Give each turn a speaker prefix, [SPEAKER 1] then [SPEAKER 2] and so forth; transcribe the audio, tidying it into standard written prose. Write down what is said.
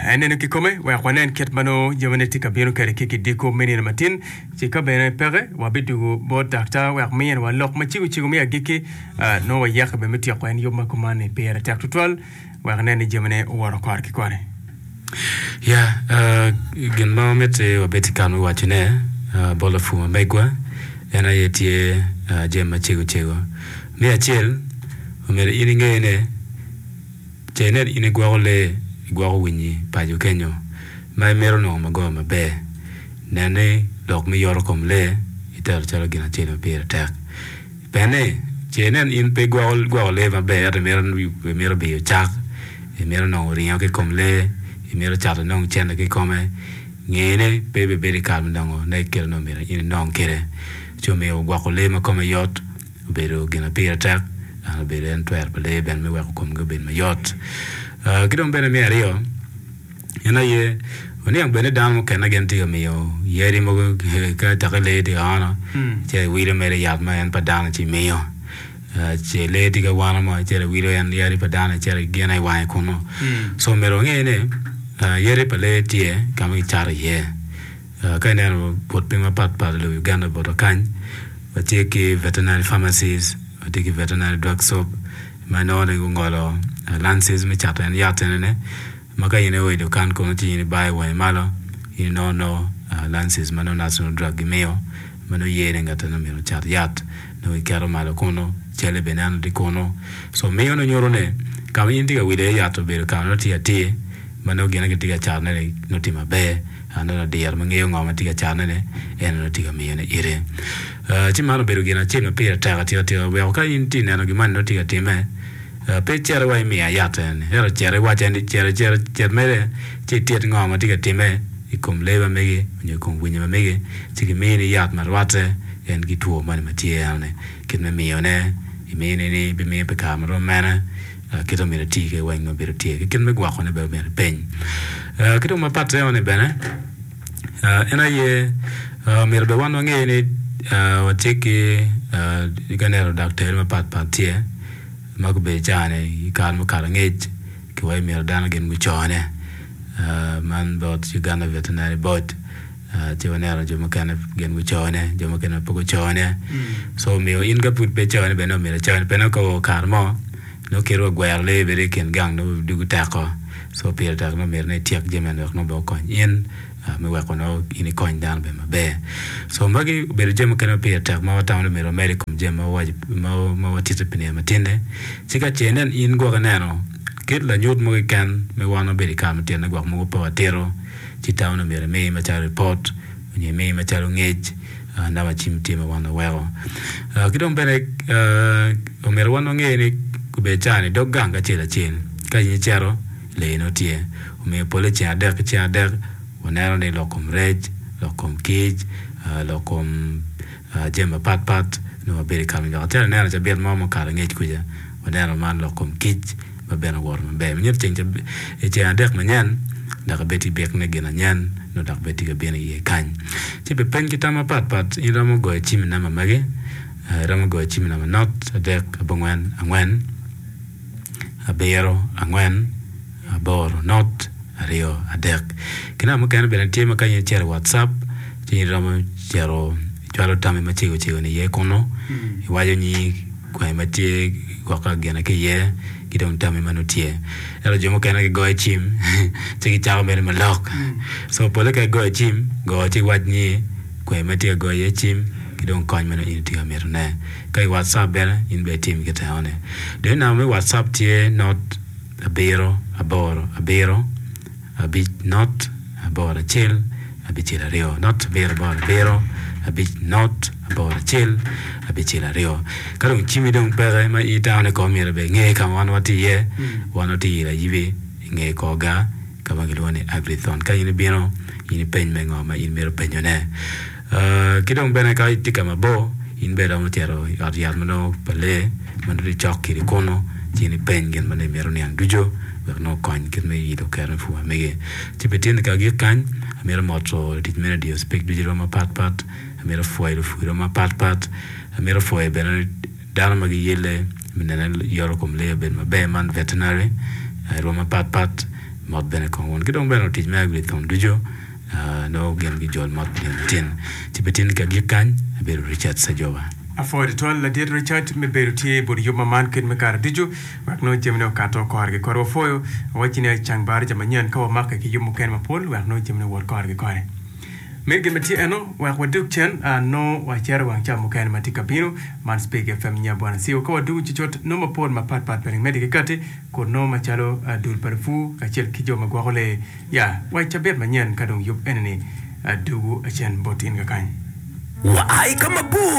[SPEAKER 1] En neno kikome wek wanen kit ma nongo jamine tye ka bino kwede ki kidiko me nino matin. Ci ka bene peke, wabidwogo bot daktar wek miniwa lok macego cego me agikki. Nongo wayeke bene me tyeko en yub ma kuman-ni pire tek tutwal wek inen ni jamine owoto kore ki kore.
[SPEAKER 2] Ya, gin ma wamiti wabed ki kare me wacone bot lapur ma megwa en aye tye jami macego cego. Me acel, omyero in inge ni Ce inen in igwoko lee, igwoko winyi paco kenyo ma imito nongo magoba maber. Nen ni lok me yoto kom lee itero calo gin acel ma pire tek. Pien ni, ce inen in pe igwoko gwoko lee maber ento imito biyo cak, imito nongo ringo ki i kom lee, imito cato inong cente ki i kome, nge ni pe ibibedo i kare me nongo ne kit ma onongo myero in inong kwede. Ci omiyo gwoko lee ma kome yot. Obedo gin ma pire tek dok obedo en twero pa lee bene me weko komgi obed mayot. Ki dong bene me aryo, en aye waniang bene ni dano mukene gin tye ka miyo yadi mogo ka teki lee tye ka ono ci iwilo mere yat ma en pa dano ci imiyo ce lee tye ka wano mo icito iwilo en yadi pa dano icito igine i wange kunu. So myero wange ni yadi pa lee tye ka ma kicato iye. Ka ineno but piny mapat pat i lobo Uganda botwa kany, watye ki veterinary pharmacies, watye ki veterinary drug shop ma inongo ni gungolo lances me cato en yat enini ma ka in io i dukan kunu ci in ibayo wangi malo in inongo nongo lances ma nongo national drug gimiyo ma nongo ye ni ngat eno myero ocat yat nongo giketo malo kunu calle bene neno tye kunu so miyo nongo nyuto ni ka ma in itye ka wilo iye yat obedo ka ma nongo tye atir ma nongo gin ma gitye ka catone-ni nongo tye maber. Aneno ladiro ma ngeyo ngo ma tye ka canne-ni, en onongo tye ka miyone ite. Ci man obedo gin acel ma pire tek atika tika weko ka in itye neno gin man nongo tye ka timme, pe icit wa imiya yat eni, ento cit iwacce ni cit cit cit mere ci itit ngo ma tye ka timme i kom lee ma megi nyo i kom winyo ma megi ci gimini yat ma rwatte en ki two moni ma tye enoni kit me miyone, imini ni ibimiyo pi kare ma rom mene. Kit ma myero iti kwede weng obedo tye ki kit me gwokone bene myero ipeny. Ki dong mapat eno-ni bene en aye myero bene wan wange ni watye ki ka ineno daktari mapat pat tye ma gubedo i caa-ni i kare mukato angec kiwaco myero dano gin gucone man bot Uganda Veterinary Board. Ci waneno jo mukene gin gucone, jo mukene pe gucone. So omiyo in ka pud pe icone bene omyero icone pien nongo ka oo kare mo nongo kit wa gwero lee bedo i kin gang nongo dugo teko. So pire tek nongo myero ni ityek jami eni wek nongo bene okony in me weko nongo in ikony dano bene maber. So magi obedo jami mukene ma pire tek ma watamo ni myero wamed i kom jami ma wawaco ma watito pi nino matinni. Ci ka ce inen in gwok ineno kit lanyut mo keken me wan wabedo i kare matinni gwok mogo pe watito. ci tamo ni myero imi macalo ripot nyo imi macalo ngec namba cim tye ma wan waweko. Ki dong bene omyero wan wange ni obedo caa-ni dog gang ki acel acel ka in icito lee nongo tye omiyo pole ceng adek ki ceng adek waneno ni lok kom rec, lok kom kic, lok kom jami mapat pat nongo wabedo i kare dok acalo ineno cabit mo mukato angec kuca waneno man lok kom kic ma bene owoto maber ma nyuto ceng i ceng adek manyen dok ibed ki byek me gin anyen nongo dok bed tye ka bino iye kany ci pi peny ki tam mapat pat in iromo goyo cim i namba magi iromo goyo cim i namba not adek abongwen angwen abiro angwen aboro not aryo adek. Ki namba mukene bene tye ma ka in icito i WhatsApp ci in iromo cito icwalo tammi macego cego ni iye kunu iwaco nyingi kwanyi ma tye gwok gine ki iye ki dong tammi ma nongo tye. Ento jo mukene gigoyo cim ci gicako mere ma lok so pole ka igoyo cim go ci iwac nyingi kwanyi ma itye ka goyo iye cim ki dong kony ma nongo in itye ka mitone. Ka i WhatsApp bene in bene itim kit enoni. Dong i namba me WhatsApp tye not abiro aboro abiro abic not aboro acel abicel aryo not abiro aboro abiro abic not aboro acel abicel aryo. Ka dong cimmi dong peke ma in itamo ni kong myero bene inge ka ma wan watye iye, wan watye i Layibi i nge kor gar ka ma kilwongo ni Agrithon. Ka in ibino in ipeny me ngo ma in imito penyone. Ki dong bene ka itye ka mabor, in bene iromo cito i ot yat ma nongo pa lee ma nongo tye cok kwedi kunu ci in ipeny gin ma nongo imito niang ducu wek nongo okony kit me ilo kero me pur ma megi. Ci pi tin ka agik kany, amito moto lutic me radio Speke ducu i rwom mapat pat, amito pwoyo lupur i rwom mapat pat, amito pwoyo bene dano ma giyelle me nene yoto kom lee obedo maber man veterinary i rwom mapat pat. Mot bene kong wun ki dong bene lutic me Agri-thon ducu nongo gin gijol mot pi nino matin. Ci pi tin ki agik kany, abedo Richard Sejoba.
[SPEAKER 1] Apwoyo tutwal ladit Richard me bedo tye i but yub ma man kit me kare ducu wek nongo jamine okato kore ki kore. Wapwoyo wawacci ni acang baraja manyen ka wamake ki yub mukene mapol wek nongo jamine owot kore ki kore. Me gin ma tye eno, wek wadug cen, nongo wacito i wang ca mukene ma tye ka bino, man Speke FM nya Bwana Siwa. Ka wadugo cucut, nongo mapol mapat pat bene medde ki kati, kun nongo macalo dul pa lupur kacel ki jo ma gwoko lee. Ya, wa i cabit manyen ka dong yub eni-ni dugo cen bot in kakany.
[SPEAKER 3] Wa i ka mabor.